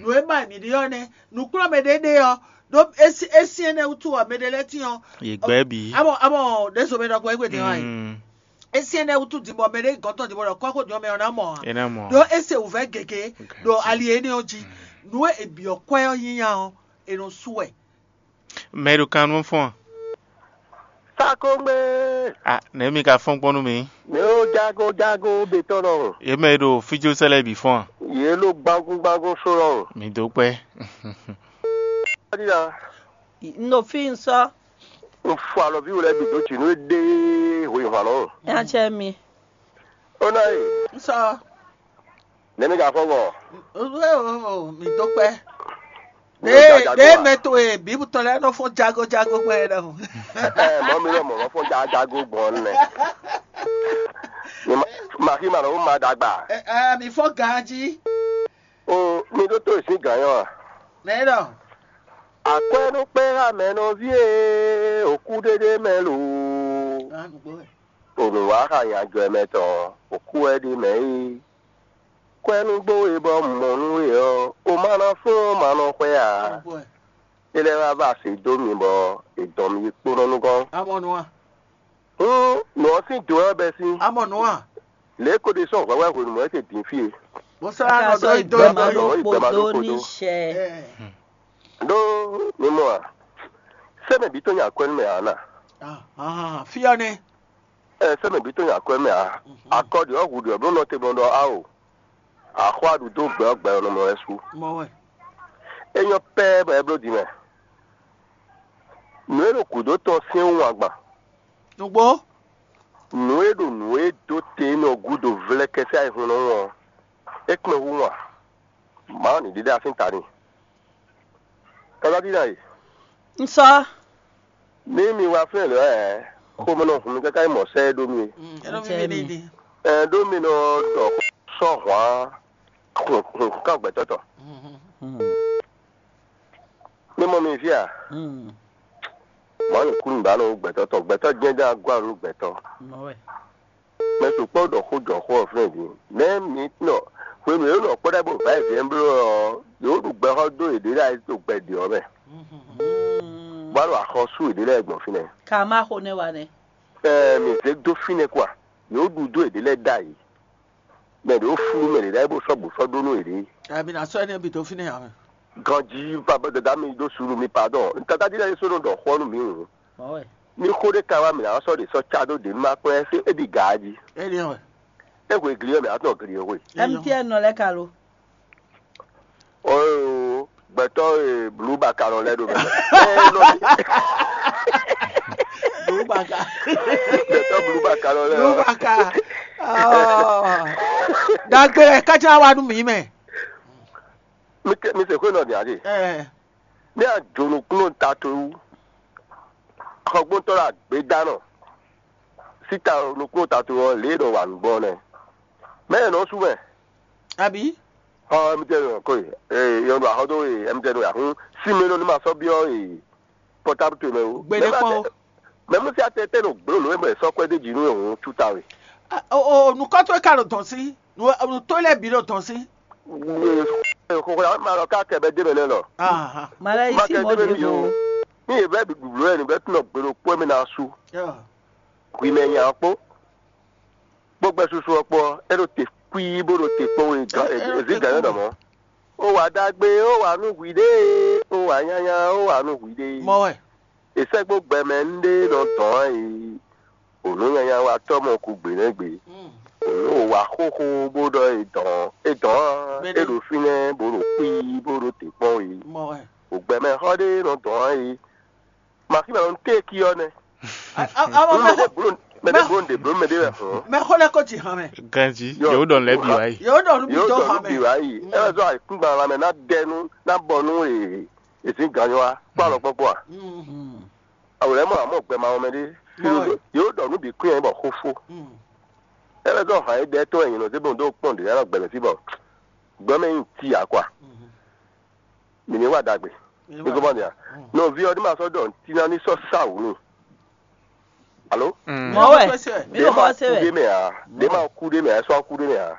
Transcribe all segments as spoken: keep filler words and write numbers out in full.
Nǔ e ma mǐ ɖe ɔ́ nɛ́, nǔkplɔ́nmɛ ɖé ɖe ɔ́, ɖó é sí é sí énɛ́ wútu ɔ́, mɛ ɖé lɛ́ɛ tín ɔ́, Yě gbɛ́ bǐ. Amɔ amɔ ɖězo mɛ ɖɔgbɔ é gbé din ɔ́. Mm. É sí énɛ́ wútu din bɔ mɛ ɖé gɔ́n tɔn din bɔ ɖɔ kɔ́xo din ɔ́ mɛ ɔ́ ná mɔ ǎ. É ná mɔ. Ɖó é se wǔvɛ́ gěgé ɖo ali énɛ́ ɔ́ jí. Nǔ e è byɔ̌ kwɛ́ ɔ́ nyínya ɔ́, è nɔ sú wɛ. Mɛ e ɖo kan nú fɔ́n a? Sakógbé. A nɛ̌ mi ka fɔ́n gbɔn nú mi? Mɛ ó jágó jágó betɔ́ lɔhùn. Yě mɛ e ɖo fíjó sɛ́ lɛ́ɛ bǐ fɔ́n a? Yě ɖo gbángún gbángún só lɔhùn. Mi dó kpɛ́. Ɔ́ ɖíɖá. Un ɖo fí un sɔ́. Un fɔ alɔví we lɛ́ɛ bǐ dó jǐ nú é ɖe hweyǐhwan lɔhùn. Nya cɛ mi. Ó ná e. Un sɔ́. Nɛ̌ mi ka fɔ́n gbɔn? Mǐ dó kpɛ́. Ɖěe mɛ towe bǐ tɔn lɛ́ɛ nɔ fɔ́n jago jago gbɔn é ɖɔhun. Ɛ mɔ mi lɔ mɔ mɔ fɔ́n jago gbɔn nɛ. Màkí ma lɔ ma dagba. Mi fɔ́n ganjí. O mi ɖó tó ìsín gǎn nyɔ a? Nɛ̌ ɖɔ? Akwɛ́ nú kpɛ́ ha mɛ nɔví e òkú ɖéɖé mɛ lo. Ònùwáxa nyajɔmɛ tɔn òkú wɛ ɖi mɛ é. Kwɛ́ nú gbó we bɔ mɔ nú we ɔ́, o ma ná fún ɔ́ ma nɔ xwɛ ǎ. É lɛ́ wá va se dó mi bɔ è dɔn mi yi kpónɔ nukɔn. Amɔ nú a? Hǔn nǔ ɔ́ sín do wɛ bɛ́ sín. Amɔ nǔ a? Lě ko ɖe sɔ́ hwɛ̌hwɛ́ hwenu mɔ̌ é se dín fí e. Bó sɔ́ Aka nɔ sɔ́ dó yi ìgbẹ́ gbɛ ma máa ɖó dó kpodó ní kpodó. Ṣɛ. Ɖó mi mɔ a? Sɛ́mɛ bǐ tɔn nya akwɛ́ nú mɛ ǎ na. Fí ɔ́ nɛ́. Ɛ sɛ́mɛ bǐ tɔn nya akwɛ́ mɛ ǎ. Akɔ ɖi ɔ́ hu ɖi ɔ́ bló nɔ te gbɔn ɖɔ ao. Axwá ɖu dó gbɛ ɔ́ gbɛ ɔ́ nɔ mɔ wɛ sú. Mɔ wɛ. É nyɔ́ pɛ́ bɔ é bló din mɛ. Nǔ e ɖo gǔdo tɔn syɛ́n wú wǎn gban. Nǔgbó. Nǔ e ɖo nǔ e dó te énɛ́ ɔ́ gúdo vlɛ́kɛ́ sín ayihún nɔ wɔn ɔ́, é kpɛn hú wǎn. Mawu ní ɖiɖe asín ta n'i. Tɔ́lá dína e. Un sɔ́. Ní mi wá fínɛ́ lě ɔ́, xomɛ nɔ hun mi káká yi mɔ̌ sɛ́ é ɖó mi. Ɛ ɖó mi mi ní. Ɛ ɖó mi nɔ ɖɔ sɔ́ hwǎn hun hun kán gbɛtɔ́ tɔn. Ní mɔ mi fí a? Mɔ̌ nǔkúnnú ba nɔ gbɛtɔ́ tɔn, gbɛtɔ́ jɛ́n jɛ́n agwá nú gbɛtɔ́. Mɛ sukpɔ́ ɖɔ xó jɔ xó ɔ́ flɛ́n din. Mɛ mi nɔ hwenu e nɔ kpɔ́ ɖɛ bó va yi vɛ́ bló ɔ́, yǒ ɖu gbɛxɔ dó yěɖée lɛ́ɛ ɖo gbɛ ɖě ɔ́ mɛ. Bó wá ɖo axɔ́sú yěɖée lɛ́ɛ gbɔn fínɛ́. Ka má xo nɛ́ wa nɛ́. Ɛɛ, mi zě dó fínɛ́ kwa. Yǒ ɖu dó yěɖée lɛ́ɛ ɖ'ayǐ. Mɛ ɖě ó flú mɛ ɖě ɖ'ayǐ bó sɔ́ bǔ sɔ́ ɖó nú yěɖée. Ɛɛ, mi ná sɔ́ énɛ́ bǐ dó fínɛ́ ǎ mɛ. Ganjí baba dada mi ɖó suɖu mi padɔn. Tata dídá yé sónú ɖɔ xɔ nú mi hǔn. Ní xó ɖé ka wá mǐ ná sɔ́ ɖě sɔ́ cá dó ɖě nú má kplɔ́n ɛ fí é bǐ gǎ jí. É ɖe wɛ. É hwe gli ɔ́ mǐ ná tɔn gli ɔ́ hwe. M T N nɔ lɛ́ɛ ka lo. Ooo gbɛtɔ́ e blǔ baka nɔ lɛ́ɛ ɖo mɛ. Ɛ nɔ Blubaka. Gbɛtɔ́ blǔ baka nɔ lɛ́ɛ. Blubaka. Dagbe kájá wa nú mǐ mɛ. Mi se xwé nɔ din adi. Ní a jǒ nukúnnú ta towe wú, xɔgbóntɔ́ ɖo agbědánɔ síta nukúnnú ta towe ɔ́, lě e è nɔ wa nǔ gbɔn ɔ́ nɛ́. Mɛ e nɔ sú mɛ. Abi. Ɔ M T N ko ye, ee yɔn ɖo axɔ dó ye M T N ya hún sí mɛ nɔ ní ma sɔ́ byɔ́ ye pɔtábu towe mɛ wú. Gbeɖé kpɔ́n o. Mɛ mú sí atɛ tɛ nɔ gblo nǔ e mɛ sɔ́ kwɛ́ dé jǐ nú e hǔn cúta we. O nukɔtɔ́ e ka ɖo dɔn sí, nutɔ́ lɛ́ɛ bǐ ɖo dɔn sí. Xɔxɔ ma lɔ ká kɛ bɛ dé mɛ nɛ lɔ. Malɛ yi sí mɔ ɖě vo. Ní yě bɛ ɖuɖu lɔ yɛ ní bɛ tún nɔ gbe ɖokpó mɛ ná sú. Hwi mɛ nya ɔ́ kpó. Kpó gbɛ́ susu ɔ́ kpó ɔ́, é ɖo te kwíí bó ɖo te kpɔ́n we gǎn èzí gǎn nyɔ́ ɖɔ mɔ̌. Ó wǎ ɖagbe, ó wǎ nú hwiɖée, ó wǎ nyanya, ó wǎ nú hwiɖée. Mɔ wɛ. È sɛ́ kpó gbɛmɛ ńɖé nɔ dɔn ǎ e. Ònú nyanya wa tɔ́ mɔ kú gbě nɛ́ gbě. Ònú wǎ xóxó bó ɖɔ è dɔn é dɔn ǎ, é ɖo fínɛ́ bó ɖo kwíí bó ɖo te kpɔ́n we. Mɔ wɛ. Ògbɛmɛ xɔ ɖé nɔ dɔn ǎ e. Màkí mɛ ɔ́, téèkì ɔ́ nɛ́. Mɛ ɖé bló mɛ ɖé bló ɖě bló mɛ ɖé wɛ hɔn. Mɛ xó lɛ kó ti hàn mɛ. Ganji, yóò dɔn lɛ bi wá yi. Yóò dɔn bí tó hàn mɛ. Yóò dɔn bí wá yi. Ɛ sɔ àìkúngban la mɛ ná dɛnu ná bɔ nú èsì ganyɔ wa kó alɔ kpɔkpɔ a. Àwòrán mọ àmọ́ gbẹ ma wọn mɛ ɖé. Yóò dɔn nú bí kún yẹn bɔ xó fó. Ɛ bɛ sɔ hàn é dɛ tó ẹ̀yìn lọ sí bóun tó pọ̀n dè yàrá gbẹ̀mẹ̀ sí bọ̀ gbọ́mẹ̀ yín ti yà kó a. Mǐ ní wa ɖagbe. Mǐ ní wa. Nɔví ɔ́ ní ma sɔ́ ɖɔ ntí ná ní sɔ́ sá wǔ nú. Alo? Mɔ̌ wɛ, mí ɖo xɔ se wɛ. Ɖé mɛ ǎ, ɖé ma kú ɖé mɛ ǎ, é sɔ́ kú ɖé mɛ ǎ.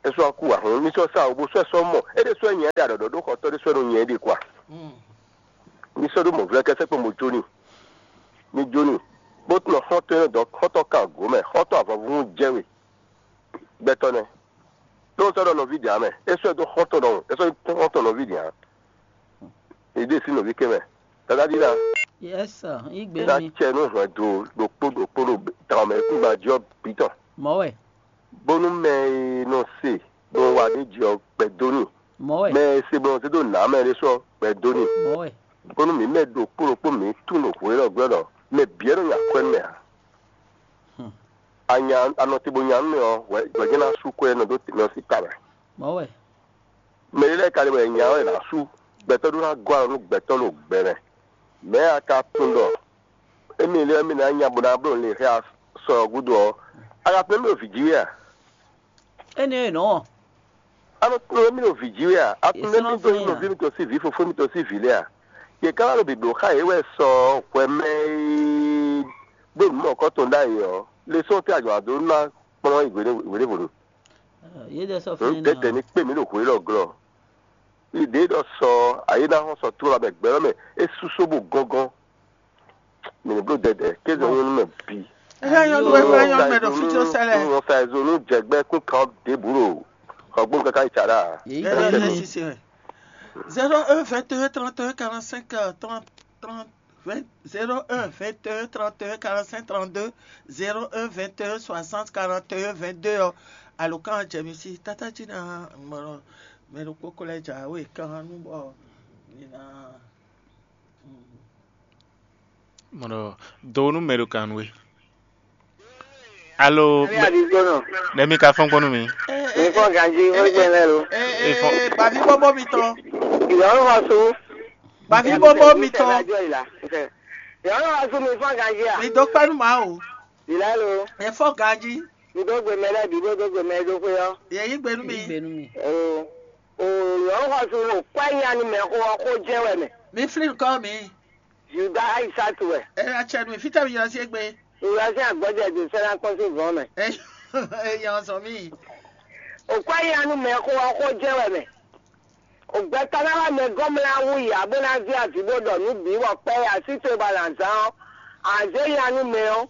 É sɔ́ kú ǎ, hǔn mì sɔ́ sa wǔ bó sɔ́ ɛ sɔ́ mɔ. É ɖésú wɛ nyɛ ɖe aɖɔ̌ɖɔ́ ɖó xɔtɔ́ ɖésú wɛ nɔ nyɛ ɖe kwa. Mì sɔ́ ɖó mɔ̌vlɛ́kɛ́ sɛ́kpɔ́ mo jó n'i. Mi jó n'i, bó tunɔ xɔ́ntɔn e nɔ dɔn xɔ́ntɔn kan gǒ mɛ, xɔ́ntɔn avɔvún jɛ we. Gbɛtɔ́ nɛ́. Ɖó un sɔ́ ɖɔ nɔví ɖě ǎ mɛ, é sɔ́ ɛ dó xɔ́ntɔn ɖɔhun, é sɔ́ nyí xɔ́ntɔn nɔví ɖě ǎ. È ɖe sín nɔví kɛ́ mɛ. Dadá ɖíɖá, Yes, sir. Yí gbé ná mi. Cɛ nú hwɛndo ɖokpó ɖokpó ɖo tɔn mɛ kúngban jí ɔ́ bǐ tɔn. Mɔ̌ wɛ. Bónú mɛ e nɔ se bó wá ɖ'é jí ɔ́ gbɛ dó n'i. Mɔ̌ wɛ. Mɛ e se bó nɔ zé dó nǎ mɛ ɖé sɔ́ gbɛ dó n'i. Mɔ̌ wɛ. Bónú mǐ mɛ ɖokpó ɖokpó mǐ tún ɖo hwě lɔ gbɛ́ ɖɔ mɛ bǐ wɛ nɔ nyi akwɛ́ nú mɛ ǎ. Hmm. A nya a nɔ te bó nya nú mɛ ɔ́, hwɛ hwɛ jɛ́n ná sú kwɛ́ nɔ dó mɛ ɔ́ sín ta mɛ. Mɔ̌ wɛ. Mɛ ɖé lɛ́ɛ ka ɖe bɔ è nya ɔ́ è nǎ sú. Gbɛtɔ́ ɖó ná gɔ́ alɔ nú gbɛtɔ́ ɖo gbɛ mɛ. Mɛ̌ a ka tunwun ɖɔ émí lɛ́ɛ mì ná nya bó ná bló le xá sɔ ɔ́ gúdo ɔ́, a ka tunwun émí ɖo vǐ jí wɛ a? Énɛ́ e nɔ́. A nɔ tunwun émí ɖo vǐ jí wɛ a? A tunwun émí dó nyí nɔví mitɔn sín vǐ, fofó mitɔn sín vǐ lɛ́ɛ a? Yě ká wá ɖo bǐbló xá yě wɛ sɔ hwɛ mɛ e ɖó nǔ mɔ̌kɔ́ tɔn ɖ'ayǐ ɔ́, le sɔ́ tɛ́ a jɔ wǎ dó ná kplɔ́n yi hwěɖěvo nu. Yě ɖɛ sɔ́ fínɛ́ ná. Tɛ́tɛ́ ní kpé mǐ ɖo hwě lɔ glɔ́. Ɖěɖɔ sɔ ayé ná hɔn sɔ tló abɛ gbɛ̌ ɔ́ mɛ, é sú só bó gɔ́ngɔ́n. Mǐ ní bló dɛdɛ, kéze nyɔ́ nú mɛ bǐ. Ɛ nyɔ́ nú ɛ nyɔ́ nú mɛ ɖo fí jó sɛ́ lɛ́ɛ. Wọ́n sa ẹ̀zọ́ nú jẹgbẹ́ kún kan ɖěbǔ ɖo xɔgbónu káká yi tsa ɖa. Yě yí Ɛ gbé ɛ mi. Sisi wɛ. Zéro un vingt et un trente et un quarante-cinq trente trente vingt zéro un vingt et un trente et un quarante-cinq trente-deux zéro un vingt et un soixante quarante et un vingt-deux ɔ́. Alǒkan jɛ mi sí tátájí ná mɔ mɛ ɖokpó ko lɛ́ jǎwe kan nú bɔ mi ná. Mɔɖɔ do nú mɛ ɖo kan nú we. Alo, Ami Adigbonɔ, nɛ mi ka fɔn kpɔn nú mi. Mi fɔ ganji wé gbɛn lɛ lo. Ee, baví bóbó mitɔn. Ìyá ń wá sú. Baví bóbó mitɔn. Ìyá ń wá sú mi fɔ ganji à. Mi dó kpɛ́ nú Mawu. Ìlà lo. Ẹ fɔ ganji. Mi dó gbe mɛ lɛ bǐ bó dó gbe mɛ dó xwé ɔ́. Yɛ yí gbe nú mi. Yí gbe nú mi. O, o, ìyá ń wá sú o kpɛ́ nya nú mɛ xó ɔ́ xó jɛ wɛ mɛ. Mi flí nukɔn mi. Yuda Aisatu wɛ. Ɛ atsɛ nú mi, fítɛ́ mi ylɔ́ sí égbé? Ylɔ́ sí agbɔ́jɛ dó sɛ́ ná kpɔ́n sín gɔ̌n mɛ. Ɛ ɛ yɛ ɔ́ sɔ mí. Òkú ayanu mɛ xó ɔ́ xó jɛ wɛ mɛ. Ògbɛtɔ́ ná wá mɛ gɔ́mlá wú yǎ bó ná zé avǐ bó ɖɔ nǔ bǐ bɔ kpɛ́ yá sí te ba nǎ zán ɔ́, a zě nya nú mɛ ɔ́,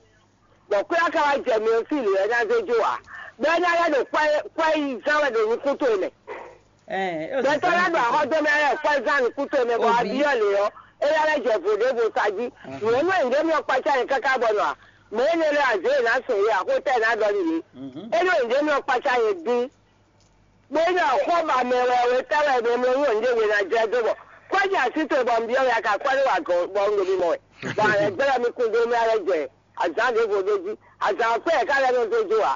bɔ kwɛ́ ɔ́ ka wá jɛ mɛ ɔ́ sí lě wɛ ná zé jó ǎ. Bɔ é ná lɛ́ ɖo kwɛ́ kwɛ́ yi zán wɛ ɖo nukún towe mɛ. Gbɛtɔ́ lɛ́ɛ ɖo axɔ́ dó mɛ lɛ́ɛ kwɛ́ zán nukún towe mɛ bɔ a byɔ́ lě ɔ́, é ná lɛ́ jɛ vo ɖěvo sa jí. Nǔ e nú è nǔɖé mì ɔ́ kpácá nyɛ káká bɔ nɔ a? Mɛ énɛ́ lɛ́ɛ a zě yě ná sɔn yě axótá e ná ɖɔ n'i yě. É nú è nǔɖé mì ɔ́ kpácá nyɛ dín. Bó nyí axɔ́ ba mɛ wɛ wetɛ́ wɛ mɛ mlɔ́ nyí nǔɖé we ná jɛ dó bɔ kwɛ́ jɛ así towe bɔ un byɔ́ we a ka kwɛ́ ɖó wa gɔ̌n bɔ un ɖo mimɔ wɛ. Bɔ a lɛ́ gbɛ́ mi kún dó mɛ a lɛ́ jɛ azǎn ɖěvo ɖó jí. Azǎn ɔ́ kpɛ́ yě ká lɛ́ nɔ dó jó ǎ.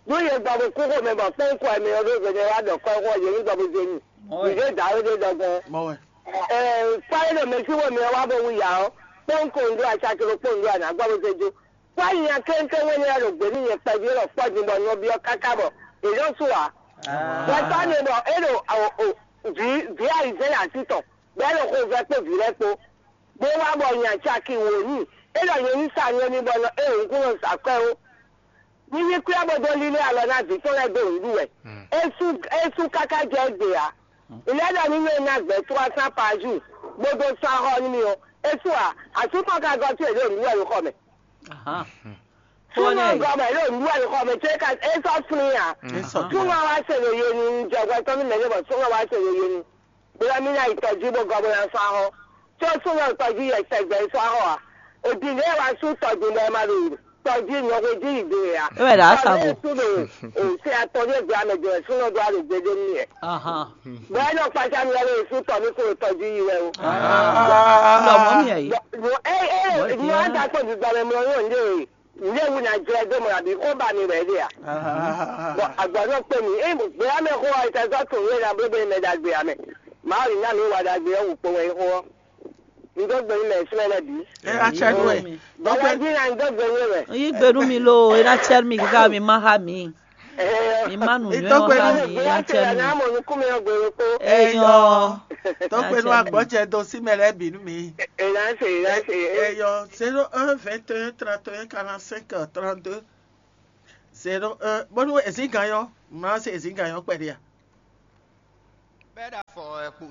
Nú yě gbɔ bó kú xomɛ bɔ kpɛ́n kɔ mɛ ɔ́ ɖó hwenu e wá ɖɔ kɔ́xo ɔ́, yě ní gbɔ bó zé nyi. Mɔ̌ wɛ. Mǐ zé dǎwe ɖé ɖɔgbɔn. Mɔ̌ wɛ. Ɛɛ, kpá é ɖo mɛ sí wemɛ ɔ́ wá bó wú yǎ ɔ́, kpɔ́n ko un ɖó acaklo kpó un ɖó anǎ gbɔ bó zé jó. Kpɔ́ nya kɛ́nkɛ́n wɛ lɛ́ɛ ɖo gbě nú nyɛ kpɛví lɔ kpɔ́ din bɔ nɔví ɔ́ káká bɔ è nɔ́ sú ǎ. Wɛ tɔ́ ne bɔ é ɖo vǐ vǐ ayizɛ́n así tɔn, bɔ é ɖo xovɛ́ kpó vǐ lɛ́ɛ kpó. Bó wá bɔ nya caki wǒ nyi, é ɖɔ nyɛ ní sa nywɛ́ n'i bɔ nɔ é wǔnkún nɔ zǎ kwɛ́ ó. Ní yí kwɛ́ bó dó lílé alɔ ná vǐ tɔn lɛ́ɛ dó nǔɖuɖu wɛ. É sú é sú káká jɛ égbé ǎ. Ilé ɖɔ ní nyɛ ná gbɛ̌ trois cents par jour, bó dó sɔ́ axɔ́ nú mì ɔ́, é sú ǎ. Asú tɔn ka gɔ́ sú è ɖo nǔɖuɖu wɛ ɖo xɔ mɛ. Súnnu ɔ́ gɔ́ bɔ è ɖo nǔɖuɖu wɛ ɖo xɔ mɛ, có é ka é sɔ́ flín ǎ. Súnnu ɔ́ wá se ɖo ye nu, un jɛ hwɛ tɔn nú mɛ̌ ɖé bɔ súnnu ɔ́ wá se ɖo ye nu. Bóyá mí ná yi tɔjí bó gɔ́ bó ná sɔ́ axɔ́. Có súnnu ɔ́ tɔjí yɛ sɛgbɛ sɔ́ axɔ́ ǎ. Òdì lě e wá sú tɔjí bɔ è ma ɖo tɔjí nyɔ̌xo jí yi do ǎ. É wɛ ɖo asa bo. Sú ɖo òsè atɔ́ ɖé gbé amɛ jɛ súnnu ɔ́ dó wá ɖo gbe dó nú yɛ. Bɔ é nɔ kpácá mi ɔ́ lé sú tɔ mí kúrò tɔjú yi wɛ o. Lɔ mɔ mi yɛ yi. Bɔ é é ní wá dá kpó dùgbà mɛ mlɔ yóò ní ɖe. Nɖé wu ná jlɛ́ dó mɔ abǐ xó ba mi wɛ ɖe a? Bɔ agbɔ̌ nɔ kpé mi. É gbé amɛ xó ɔ́, è tɛ zɔ́ tunwun é ná bló bɛ́ mɛ ɖagbe amɛ. Mawu ní ná mi wa ɖagbe ɔ́ wǔ kpo wɛ é xó ɔ́. Un dó gbe nú mɛ súnmɛ lɛ́ɛ bǐ. Ɛ atsɛ nú ɛ. Bɔlá jí ná un dó gbe nú ɛ. Yí gbe nú mi loo, é ná tsɛ mi kíká mi má xá mi. Mi má nù nyɔ́ xá mi, é ná tsɛ mi. Ná mɔ nukún mi ɔ́ gbe kpó. Eyɔ. Tó gbe nú agbɔ́jɛ dó sí mɛ lɛ́ɛ bǐ nú mi. È ná se, è ná se. Eyɔ, zéro un vingt et un trente et un quarante-cinq trente-deux. Se ɖo bónú ezǐngán ɔ́, mlá se ezǐngán ɔ́ kpɛɖé a? Bɛ́ ɖo afɔ ɛ kpo